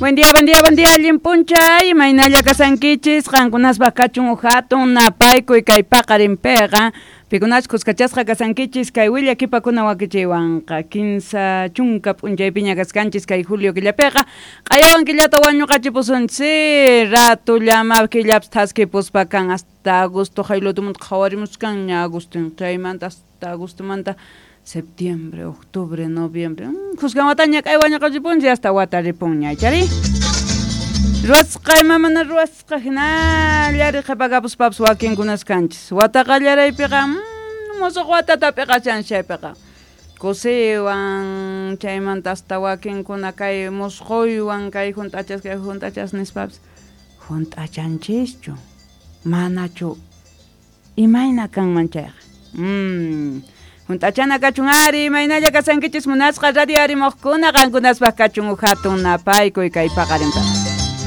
Buen día, buen día, buen día, allin p'unchay, imaynalla kasankichis, qankunaspaq kachun uj hatun napaykuy kay paqarinpiqa, pikunachus kuskachasqa kasankichis kay willakipakuna wakichiywanqa, 30 p'unchaypiña kaskanchis kay julio killapiqa, q'ayawan killata wañuqachipusunchis, ratullama killapis thaskipuspa kan hasta agosto jaylutumanta qhawarimuskanña agostin, chaymanta hasta agostomanta septiembre, octubre, noviembre, khuskan wataña k'ay wañuqachipunchis hasta wata ripunña, ichari? Ruwasqa ima mana ruwasqa hinallari qhipakapuspapis wakinkunas kanchis. Wata qallaraypiqa, musuq watata p'iqachanchis chaypiqa. Kusiywan, chaymanta hasta wakinkuna kay musquywan, kay hunt'achas, kay hunt'achas nispapis, hunt'achanchischu, manachu imayna kanman chayqa. Hunt'achana kachun ari, imaynalla kasankichis munasqa radio arimuqkuna, qankunaspaq kachun uj hatun napaykuy kay paqarinpiqa.